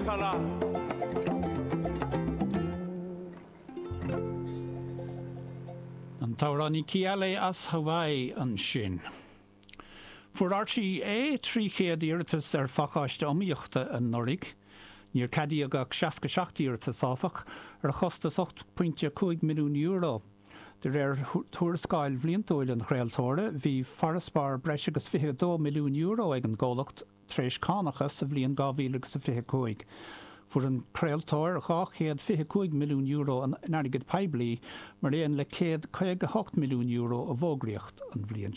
Kala. An t-amhránaí Keale as Hawaii ansin. Fuair RTÉ 300 iarratas ar phacáiste iomaíochta anuraidh. Níor ceadaíodh ach 67 iarratas, áfach, ar chostas €8.5 milliún. De réir tuarascáil bhliantúil an chraoltóra, bhí farasbarr breis agus €22 milliún ag an gcomhlacht tar éis cánacha sa bhliain 2025. Fuair an craoltóir €225 milliún in airgead poiblí mar aon le €158 milliún i bhfógraíocht an bhliain seo.